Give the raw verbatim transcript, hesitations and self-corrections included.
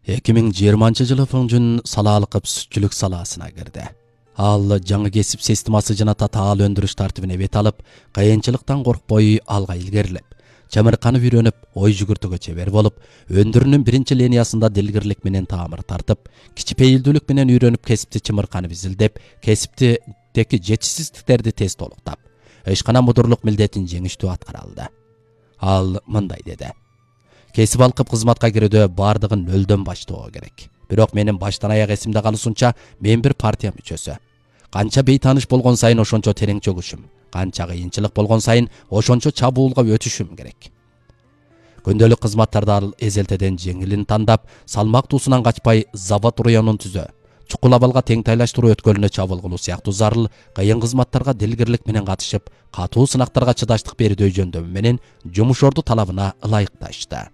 эки миң жыйырманчы жылы Фыңжун салаалык сүтчүлүк салаасына кирди. Ал жаңы кесип системасы жана татаал өндүрүш тартибине бет алып, кыйынчылыктан коркпой алга илгерилеп, чамырканып үйрөнүп, ой жүгүртүүгө чебер болуп, өндүрүүнүн биринчи линиясында дилгирлик менен таамыр тартып, кичипейилдүүлүк менен үйрөнүп кесипти чымырканып изилдеп, кесиптеги жетишсиздиктерди тез толуктап, ишкана мудурлук милдетин жеңиштүү аткара алды. Ал мындай деди: кесип алкып кызматка кирүүдө бардыгын нөлдөн баштоо керек. Бирок менин баштан аяк эсимде калышынча, мен бир партия мүчөсү. Канча бейтаныш болгон сайын ошончо терең чөгүшүм, канча кыйынчылык болгон сайын ошончо чабуулга өтүшүм керек. Күндөлүк кызматтарда ал эзелтеден жеңилин тандап, салмактуусунан качпай завод районун түзө, чукул абалга тең тайлаштыруу өткөлүнө чабуул кылуу сыяктуу зарыл кыйын кызматтарга дилгирлик менен катышып, катуу сынактарга чыдаштык берүүдө жөндөмү менен жумуш орду талабына ылайыкташты.